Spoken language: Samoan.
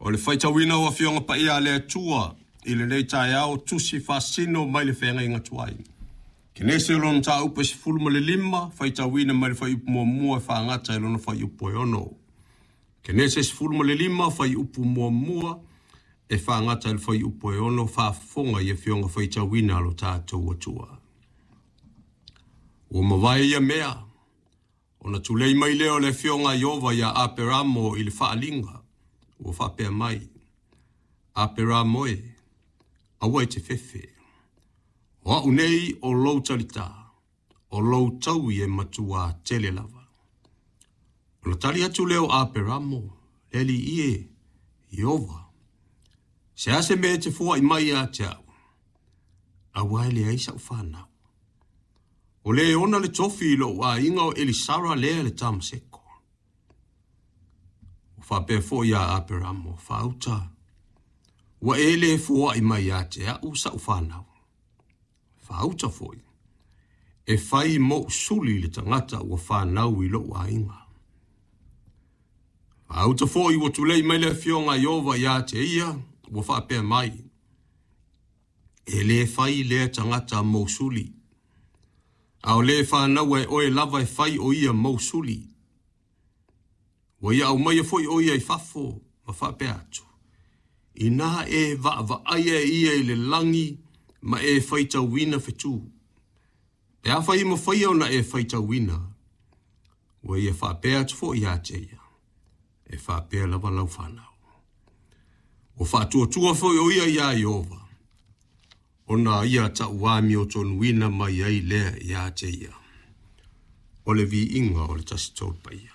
O le faitauina o Afioga Paia a le Atua i lenei taeao tusi faasino mai le feagaiga tuai. Kenese o lona mataupu e 15, faitauina mai le fuaiupu muamua e faagata i lona fuaiupu e 6. Kenese 15, fuaiupu muamua e faagata i le fuaiupu e 6, faafofoga i afioga faitauina a lo tatou Atua. Ua mavae ia mea, ona tulei mai lea o le afioga a Ieova iā Aperamo i le faaaliga, ua faapea mai, Aperamo e, aua e te fefe. O au nei o lou talitā, o lou taui e matuā tele lava. Ona tali atu lea o Aperamo, Le Alii e, Ieova, se a se mea e te foai mai ia te au, aua e leai sa'u fanau. O le e ona le tofi i lo'u aiga o Elisara lea le Tamaseko. Ua faapea foi ia Aperamo, Faauta, ua e le foai mai ia te au sa'u fanau. Faauta foi, e fai mo'u suli le tagata ua fanau i lo'u aiga. Faauta foi ua tulei mai le afioga a Ieova ia te ia, ua faapea mai, E le fai lea tagata mou suli, a o le fanaua e oe lava e fai o ia mou suli. Ua ia aumaia foi o ia i fafo ma faapea atu, Inā e vaavaaia e ia i le lagi ma e faitauina fetū, pe afai e mafaia ona e faitauina, ua ia faapea atu foi ia te ia, e faapea lava lau fanau. Ua faatuatua foi o ia iā Ieova, ona ia tauamiotonuina mai ai lea ia te ia. O le viiga o le Tasi Tolu Paia.